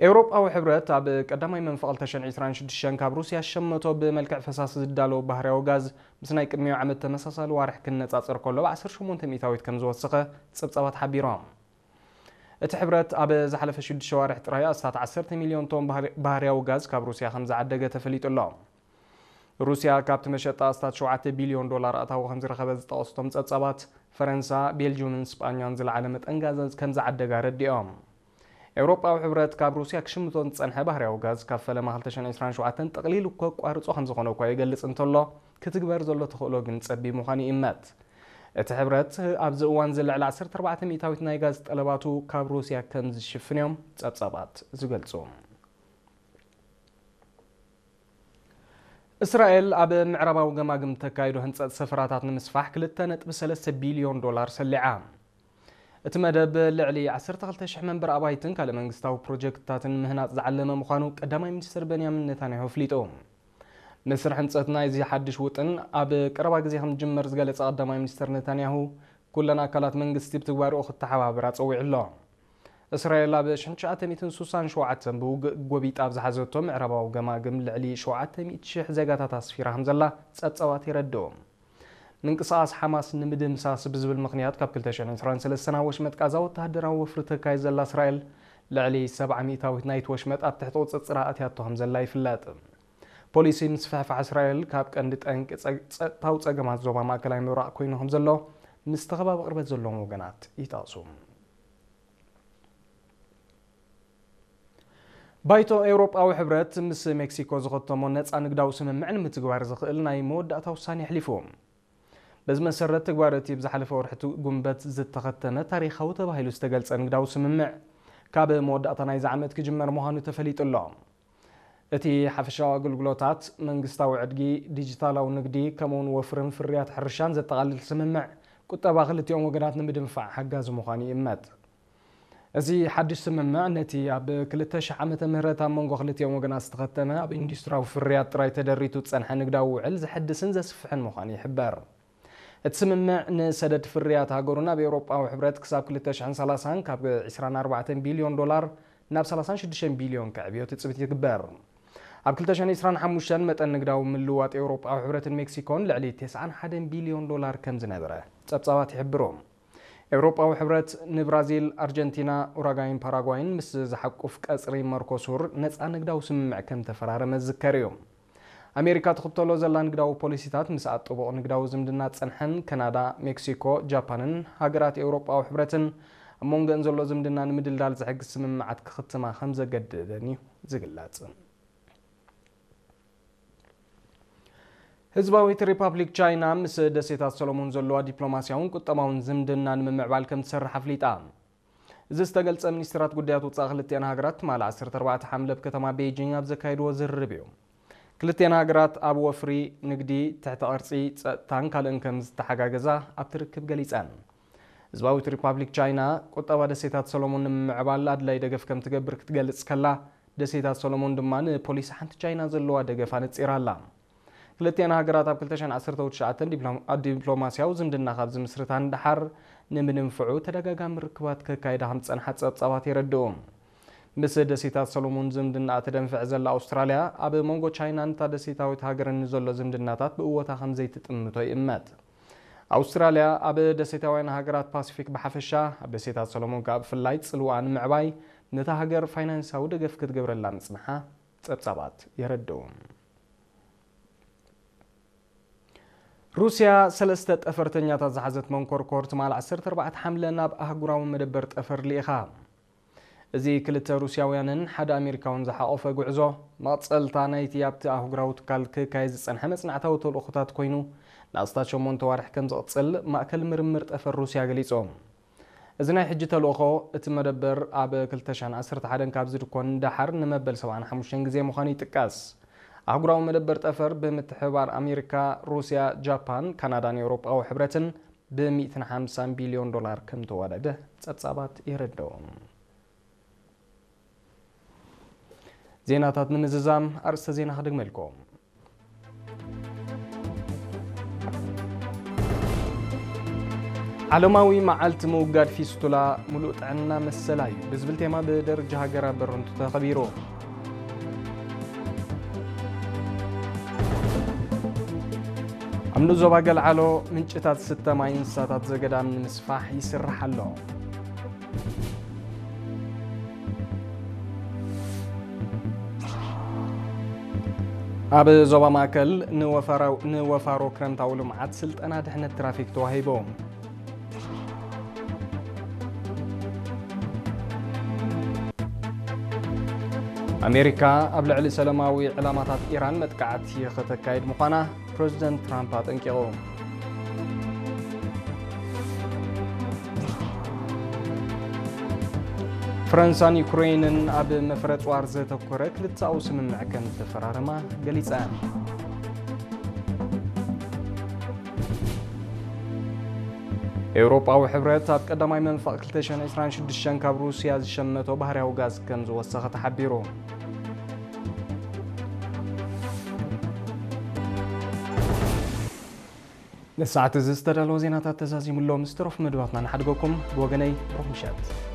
ኤውሮጳዊ ሕብረት ኣብ ቀዳማይ መንፈቕ ክልተ ሽሕን ዕስራን ሽዱሽተን ካብ ሩስያ ዝሸመቶ ብመልክዕ ፈሳሲ ዝዳሎ ባህርያዊ ጋዝ ምስ ናይ ቅድሚኡ ዓመት ተመሳሳሊ ዋርሕ ክነጻጸር ከሎ ብ ዓሰርተ ሸሞንተ ሚእታዊት ከም ዝወሰኸ ጸብጻባት ሓቢሮም። እቲ ሕብረት ኣብ ዝሓለፈ ሽዱሽተ ዋርሕ ጥራይ ኣስታት ዓሰርተ ሚልዮን ቶን ባህር-፣ ባህርያዊ ጋዝ ካብ ሩስያ ከም ዝዓደገ ተፈሊጡ ኣሎ። ሩስያ ካብቲ መሸጣ ኣስታት ሸውዓተ ቢልዮን ዶላር ኣታዊ ከም ዝረኸበት ዝጠቐሱ እቶም ጸብጻባት፣ ፈረንሳ፣ ቤልጅዩምን ስጳኛን ዝለዓለ መጠን ጋዝ ከም ዝዓደጋ ኣረዲኦም። ኤውሮጳዊ ሕብረት ካብ ሩስያ ክሽምቶ ዝጸንሐ ባህርያዊ ጋዝ ካብ ፈለማ ክልተ ሽሕን ዕስራን ሸውዓተን ጠቕሊሉ ከቋርጾ ከም ዝኾነ እኳ ይገልጽ እንተሎ፣ ክትግበር ዘሎ ተኽእሎ ግን ጸቢብ ምዃኑ ይእመት። እቲ ሕብረት ኣብዚ እዋን እዚ ልዕሊ ዓሰርተ ኣርባዕተ ሚእታዊት ናይ ጋዝ ጠለባቱ ካብ ሩስያ ከም ዝሽፍን እዮም ጸብጻባት ዝገልጹ። እስራኤል ኣብ ምዕራባዊ ገማግም ተካይዶ ህንጸት ሰፈራታት ንምስፋሕ ክልተ ነጥቢ ሰለስተ ቢልዮን ዶላር ሰሊዓ። እቲ መደብ ልዕሊ ዓሰርተ ክልተ ሽሕ መንበሪ ኣባይትን ካልእ መንግስታዊ ፕሮጀክትታትን ምህናጽ ዝዓለመ ምዃኑ ቀዳማይ ሚኒስትር በንያሚን ኔታንያሁ ኣፍሊጡ። መስርሕ ህንጸት ናይዚ ሓድሽ ውጥን ኣብ ቀረባ ግዜ ከም ዝጅመር ዝገለጸ ቀዳማይ ሚኒስትር ኔታንያሁ፣ ኩለን ኣካላት መንግስቲ ብትግባርኡ ክተሓባበራ ጸዊዑ ኣሎ። እስራኤል ኣብ ሽሕን ትሽዓተ ሚእትን ስሳን ሸውዓተን ብውግእ ጎቢጣ ኣብ ዝሓዘቶ ምዕራባዊ ገማግም ልዕሊ ሸውዓተ ሚእቲ ሽሕ ዜጋታት ኣስፊራ ከም ዘላ ጸብጻባት የረድኡ። ምንቅስቓስ ሓማስ ንምድምሳስ ብዝብል ምኽንያት ካብ ክልተ ሽሕን ዕስራን ሰለስተን ኣብ ወሽመጥ ቃዛ ወተሃደራዊ ወፍሪ ተካይድ ዘላ እስራኤል፣ ልዕሊ ሰብዓ ሚእታዊት ናይቲ ወሽመጥ ኣብ ትሕቲ ቁጽጽራ ኣትያቶ ከም ዘላ ይፍለጥ። ፖሊሲ ምስፍሕፋሕ እስራኤል ካብ ቀንዲ ጠንቂ ጸ-፣ ጸጥታዊ ጸገማት ዞባ ማእከላይ ምብራቕ ኮይኑ ከም ዘሎ ምስቲ ከባቢ ቅርበት ዘለዎም ወገናት ይጠቕሱ። ባይቶ ኤውሮጳዊ ሕብረት ምስ ሜክሲኮ ዝኸተሞ ነጻ ንግዳዊ ስምምዕ ንምትግባር ዝኽእል ናይ መወዳእታ ውሳኔ ኣሕሊፉ። በዚ መሰረት፣ ትግባር እቲ ብዝሓለፈ ወርሒ ቱ-፣ ጉንበት ዝተኸተመ ታሪኻዊ ተባሂሉ ዝተገልጸ ንግዳዊ ስምምዕ ካብ መወዳእታ ናይዚ ዓመት ክጅመር ምዃኑ ተፈሊጡ ኣሎ። እቲ ሓፈሻዊ ኣገልግሎታት፣ መንግስታዊ ዕድጊ፣ ዲጂታላዊ ንግዲ፣ ከምኡውን ወፍርን ፍርያት ሕርሻን ዘጠቓልል ስምምዕ፣ ቁጠባ ክልቲኦም ወገናት ንምድንፋዕ ሓጋዚ ምዃኑ ይእመት። እዚ ሓድሽ ስምምዕ፣ ነቲ ኣብ ክልተ ሽሕ ዓመተ ምህረት ኣብ መንጎ ክልቲኦም ወገናት ዝተኸተመ፣ ኣብ ኢንዱስትሪያዊ ፍርያት ጥራይ ተደሪቱ ዝጸንሐ ንግዳዊ ውዕል ዘሐድስን ዘስፍሕን ምዃኑ ይሕበር። እቲ ስምምዕ፣ ንሰደድ ፍርያት ሃገሩ ናብ ኤውሮጳዊ ሕብረት ክሳብ ክልተ ሽሕን ሰላሳን ካብ ዕስራን ኣርባዕተን ቢልዮን ዶላር ናብ ሰላሳን ሽዱሽተን ቢልዮን ከዕብዮ ትጽቢት ይግበር። ኣብ ክልተ ሽሕን ዕስራን ሓሙሽተን፣ መጠን ንግዳዊ ምልውዋጥ ኤውሮጳዊ ሕብረትን ሜክሲኮን ልዕሊ ተስዓን ሓደን ቢልዮን ዶላር ከም ዝነበረ ጸብጻባት ይሕብሩ። ኤውሮጳዊ ሕብረት ንብራዚል፣ ኣርጀንቲና፣ ኡራጋይን ፓራጓይን ምስ ዝሓቁፍ ቀጽሪ መርኮሱር ነጻ ንግዳዊ ስምምዕ ከም ተፈራረመ ዝዝከር እዩ። ኣሜሪካ ትኽተሎ ዘላ ንግዳዊ ፖሊሲታት፣ ምስኣን ጥቡቕ ንግዳዊ ዝምድና ዝጸንሐን፣ ካናዳ፣ ሜክሲኮ፣ ጃፓንን ሃገራት ኤውሮጳዊ ሕብረትን ኣብ መንጎአን ዘሎ ዝምድና ንምድልዳል ዝሕግዝ ስምምዓት ክኽትማ ከም ዘገደደን እዩ ዝግለጽ። ህዝባዊት ሪፓብሊክ ቻይና ምስ ደሴታት ሰሎሞን ዘለዋ ዲፕሎማስያውን ቁጠባውን ዝምድና ንምምዕባል ከም ትሰርሕ ኣፍሊጣ። እዚ ዝተገልጸ፣ ሚኒስትራት ጉዳያት ወጻኢ ክልቲኣን ሃገራት ትማሊ ዓሰርተ ኣርባዕተ ሓምለ ኣብ ከተማ ቤይጂንግ ኣብ ዘካየድዎ ዝርርብ እዩ። ክልቲኣን ሃገራት ኣብ ወፍሪ፣ ንግዲ፣ ትሕቲ ቅርጺ፣ ጸጥታን ካልእን ከም ዝተሓጋገዛ ኣብቲ ርክብ ገሊጸን። ህዝባዊት ሪፓብሊክ ቻይና፣ ቁጠባ ደሴታት ሰሎሞን ንምምዕባል ኣድላይ ደገፍ ከም ትገብር ክትገልጽ ከላ፣ ደሴታት ሰሎሞን ድማ ንፖሊሲ ሓንቲ ቻይና ዘለዋ ደገፍ ኣነጺራ ኣላ። ክልቲኣን ሃገራት ኣብ ክልተ ሽሕን ዓሰርተ ትሽዓተን ዲፕሎ-፣ ዲፕሎማስያዊ ዝምድና ካብ ዝምስርታ ንደሓር፣ ንምድንፍዑ ተደጋጋሚ ርክባት ከካይዳ ከም ዝጸንሓ ጸብጻባት የረድኡ። ምስ ደሴታት ሰሎሞን ዝምድናኣ ተደንፍዕ ዘላ ኣውስትራልያ፣ ኣብ መንጎ ቻይናን እታ ደሴታዊት ሃገርን ንዘሎ ዝምድናታት ብእወታ ከም ዘይትጥምቶ ይእመት። ኣውስትራልያ ኣብ ደሴታውያን ሃገራት ፓሲፊክ ብሓፈሻ፣ ኣብ ደሴታት ሰሎሞን ከኣ ብፍላይ ጽልዋኣ ንምዕባይ፣ ነታ ሃገር ፋይናንሳዊ ደገፍ ክትገብረላ ምጽንሓ ጸብጻባት የረድኡ። ሩስያ ሰለስተ ጠፈርተኛታት ዝሓዘት መንኮርኮር ትማል ዓሰርተ ኣርባዕተ ሓምለ ናብ ኣህጉራዊ መደበር ጠፈር ልኢኻ። እዚ ክልተ ሩስያውያንን ሓደ ኣሜሪካውን ዝሓቖፈ ጉዕዞ፣ መቐጸልታ ናይቲ ኣብቲ ኣህጉራዊ ትካል ክካየድ ዝጸንሐ መጽናዕታዊ ተልእኾታት ኮይኑ፣ ንኣስታት ሸሞንተ ዋርሕ ከም ዝቕጽል ማእከል ምርምር ጠፈር ሩስያ ገሊጹ። እዚ ናይ ሕጂ ተልእኾ፣ እቲ መደበር ኣብ ክልተ ሽሕን ዓሰርተ ሓደን ካብ ዝድኮን ደሓር ንመበል ሰብዓን ሓሙሽተን ግዜ ምዃኑ ይጥቀስ። ኣህጉራዊ መደበር ጠፈር ብምትሕብባር ኣሜሪካ፣ ሩስያ፣ ጃፓን፣ ካናዳን ኤውሮጳዊ ሕብረትን ብሚእትን ሓምሳን ቢልዮን ዶላር ከም ተዋደደ ጸብጻባት የረድኡ። ዜናታት ንምዝዛም ኣርእስተ ዜና ክደግመልኩም። ዓለማዊ መዓልቲ ምውጋድ ፊስቱላ፣ ሙሉእ ጥዕና መሰላ እዩ ብዝብል ቴማ ብደረጃ ሃገር ኣብ በረንቱ ተኸቢሩ። ኣብ ንኡስ ዞባ ገልዓሎ ምንጭታት ስተ ማይ እንስሳታት ዘገዳም ንምስፋሕ ይስራሕ ኣሎ። ኣብ ዞባ ማእከል ንወፋራው-፣ ንወፋሮ ክረምታዊ ልምዓት ስልጠና ድሕነት ትራፊክ ተዋሂቡ። ኣሜሪካ ኣብ ልዕሊ ሰላማዊ ዕላማታት ኢራን መጥቃዕቲ ከተካይድ ምዃና ፕረዚደንት ትራምፕ ኣጠንቂቑ። ፈረንሳን ዩክሬንን ኣብ መፍረ ጽዋር ዘተኮረ ክልተኣዊ ስምምዕ ከም ተፈራረማ ገሊጸን። ኤውሮጳዊ ሕብረት ኣብ ቀዳማይ መንፈቕ ክልተ ሽሕን ዕስራን ሽዱሽተን ካብ ሩስያ ዝሸመቶ ባህርያዊ ጋዝ ከም ዝወሰኸ ተሓቢሩ። ንሰዓት እዚ ዝተዳለወ ዜናታት ተዛዚሙ ኣሎ። ምስ ተረፉ መደባትና ንሓድገኩም። ብወገነይ ብሩኽ ምሸት።